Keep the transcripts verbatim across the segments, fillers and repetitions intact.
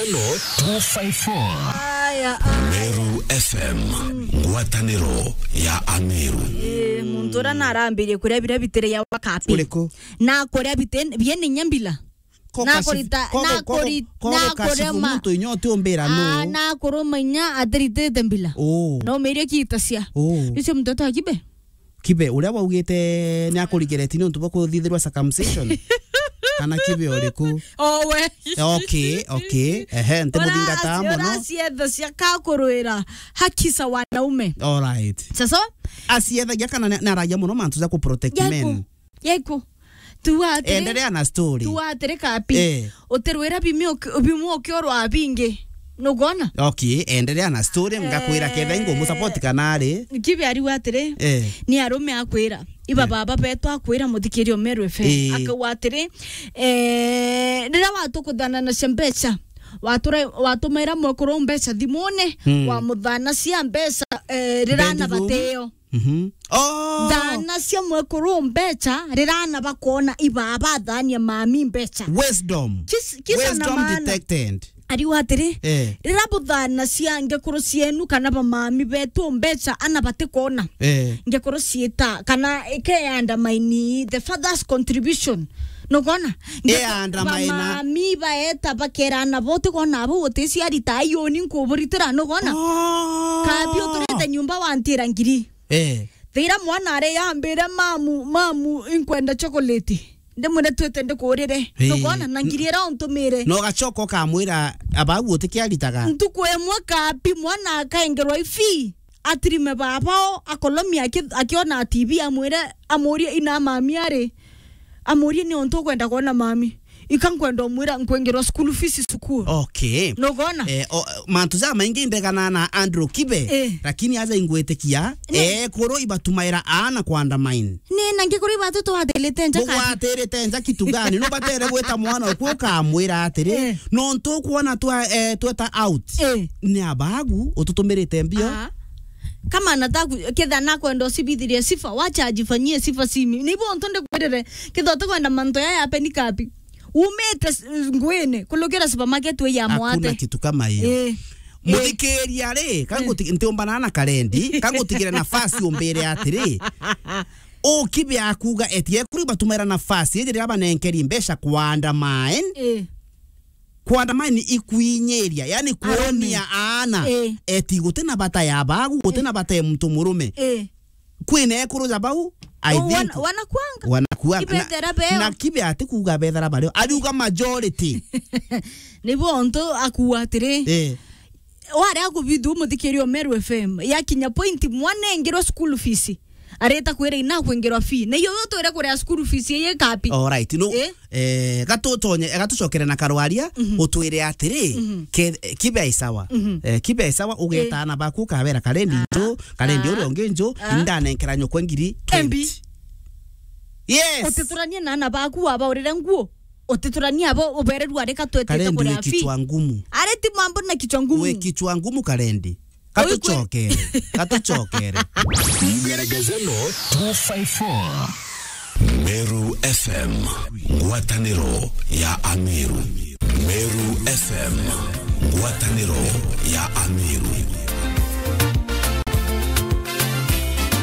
Two five four. Aya, aya. Meru F M, ngwataniro ya Ameru. Eh, muntu uria narambirie kuria biria bitire ya wakapi. Uriku? Na kuria bite-, biene inya mbila. Ko na kashi-, kurita, ko, na ko, ko, kuri-, ko na kashi kurema. Muntu inya utiumbira. Ah, no. Na kuruma inya atiritite mbila. Oh. No merie kitacia. Oh. Icio muntu atwa kibe. Kibe, uria waugite ni akurigereti ni untu bwa kuthithirwa circumcision? Kana kibe uriku? Oh, we. Okay, okay. Ehe, ntimuthingata mono. Ora acietha cia kakurwira haki za wanaume. All right. Sasa? Aciethagia kana ni, ni aragia mono mantu ja ku protect men? Yaiku. Yaiku. Tu atiri. Endelea na story. Tu atiri kapi. Eh. Utirwira bimwe uki-, bimwe ukiorwa bingi. Nugona? Okay, endelea na story, ngakwira ketha ingo mu support kana ari. Kibe ariu atiri, eh, ni arume akwira. Iba, eh, baba betu akwira muthikirio Meru F M. Eh. Akauga atiri, eh, riria watukuthana na cia mbeca, watura-, watumaira mwekuru mbeca thimune, hmm, wamuthana cia mbeca, eh, riria na bateo. Mhm. Oh! Thana cia mwekuru mbeca, riria ana bakona ibaba thania mami mbeca. Wisdom. Kis-, kisa na wisdom maana. Detected. Ariu atiri, eh, riria buthana cia ngekuru cienu kana bamami betu mbeca ana batikona. Eh. Ngekuru ciita, kana ike undermine the father's contribution. Nukona? Ngekuru, undermine. Bamami baeta bakera ana bo utikona abo uticiari ta ayoni nkuburitira, nukona? Oh. Kabi uturite nyumba wantira ngiri. Eh. Thira mwana ari yambire, "Mamu, mamu, inkwenda chocolate." Ndimwire, "Twite ndikurire." Eh. Nukona? Na ngiri ira untumire. Na ugacoka ukamwira, "Abau utikiaritaga." Ntuku imwe kabi mwana akaengerwa ifi, atirime babao, akolomia aki-, akiona T V, amwire, amurie ina mami ari, amurie, "Ni untu ukwenda kwona mami?" Ika nkwenda umwira nkwengerwa school fees cukuru. Okay. Nugona? Eh, o, mantu ja maingi indegana na Andrew Kibe, eh, lakini aja ingwitikia, ni- ekuru ibatumaira aana ku undermine. Ni na ngikuru ibatu twatirite nja kati. Bugwatirite nja kitu gani? Nubatere gwita mwana uku ukamwira atiri, eh, nontu ukwona twa, eh, tweta out. Eh. Ni abagu ututumirite mbio. Ah. Kama anataka ku-, ketha nakwenda usibithirie sifa, wacha ajifanyie sifa simi. Ni bo untu ndikwirire, ketha utikwenda mantu yaya apeni kapi. Umite s-, ngwine, kulukira supermarket we ya mwate. Hakuna kitu kama hiyo. Eh. Muthikiria ri, eh, kanguti-, ntiumbana na karendi, kangutigire nafasi umbire atiri, ukibe akuga eti ekuru batumaira nafasi iji riria banenkeri mbeca ku undermine. Eh. Ku undermine ikwinyiria, yani kuonia aana, eh, eti guti na bata ya bagu, guti na bata ya muntu murume. Eh. Kwina ekuru ja bau, I think wana-, wanakuanga. Wanakuanga. Ibethera beo. Na, na kibe ati kuuga bethera bario. Ariuga majority. Ni bo untu akuuga atiri. Eh. Wari akubithu muthikirio Meru F M. Yakinya point mwana engirwa school fees. Areta kwira ina kwingirwa fee. Na iyo yo twire kuria school fees ye kapi. All right. No. Eh? Eh, gatutonye, gatucokere na karwaria, mhm, utwire atiri, mhm, ke-, kibe isawa. Mhm. Eh, kibe isawa, ugeta, eh, ana baku ukabera karendi, ah, nju, karendi, ah, uria ungi nju, ah, indanenkera nyokwe ngiri twenty. Embi. Yes. Utituranie na ana baku wabaurire nguo. Utituranie abo ubererua arika twetete kuria fee. Karendi wi kichwa ngumu. Areti mambo na kichwa ngumu. Wi kichwa ngumu karendi. Katuchokere. Katuchokere. Ngeregezeno two five four. Meru F M, ngwataniro ya Ameru. Meru F M, ngwataniro ya Ameru.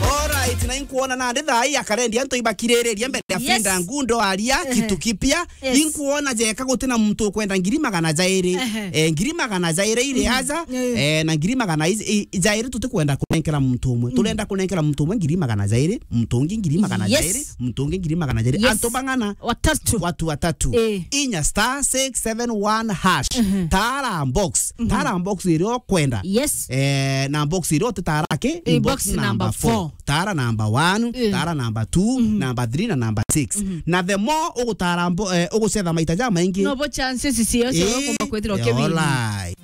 Alright, na inkuona nandi thaa ii ya karendi antu ibakiririria mbere ya, yes, Finda Ngundo aria, ehe, kitu kipya. Yes. Inkuona jeka guti na muntu ukwenda ngiri magana jairi. Ehe. Eh, ngiri magana jairi iri, mhm, aja, eh, eh, na ngiri magana i-, i-, jairi tutikwenda kunenkera muntu umwe. Mm. Turenda kunenkera muntu umwe ngiri magana jairi, muntu ungi ngiri magana jairi, yes, muntu ungi ngiri magana jairi. Yes. Antu bang'ana? Watatu. Watu watatu. Eh. Inya star six seven one hash. Mhm. Tara box. Mhm. Tara box iria ukwenda. Yes. Eh, na box iria utitara ki? Eh, box number four. Tara number one, eh, tara number two, mhm, number three na number six. Mhm. Na the more ugutara mbo-, eh, ugucetha maita jamaingi, nobo chances cio cia, eh, ukumba kwithirwa ukibini. Alright.